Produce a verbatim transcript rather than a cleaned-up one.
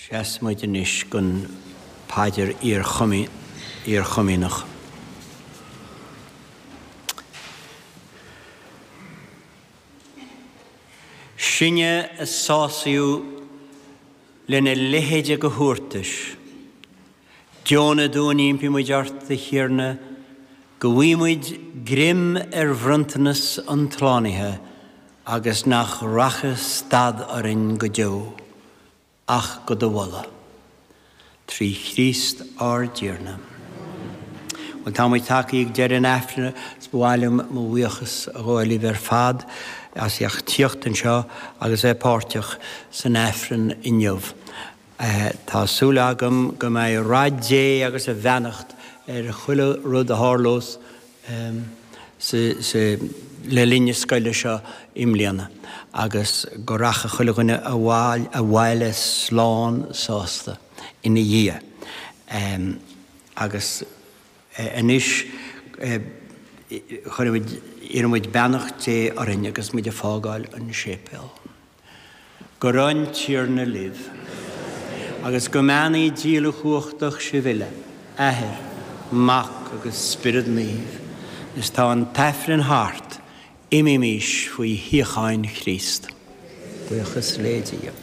Seasfaimid anois don phaidir iarchomaoineach. Sinne a sásaíodh lena leithéide de thabhartais. Deonaigh dúinn, impímid ort, a Thiarna, go bhfaighimid greim ar bhronntanas an tslánaithe agus nach rachaidh stad orainn go deo, ach go do mholadh. Trí Chríost ár dTiarna. Bhuel, tá muid tagtha ag deireadh an Aifrinn is ba mhaith liom mo bhuíochas a ghabháil libh ar fad as ucht tíocht anseo agus bheith páirteach san Aifreann inniu. Tá súil agam go mbeidh rath Dé agus a bheannacht ar chuile rud a tharlós le linn na scoile seo i mbliana agus go rachaidh chuile dhuine abhaile slán sásta ina dhiaidh. Agus anois chuirimid, iarraimid beannacht Dé orainn agus muid ag fágáil an séipéal. Go raibh an Tiarna libh. Agus go mbeannaí Dia uilechumhachtach sibh uile, Athair, Mac agus Spiorad Naomh. Is tá an tAifreann thart, imímís faoi shíocháin Chríost. Buíochas le Dia.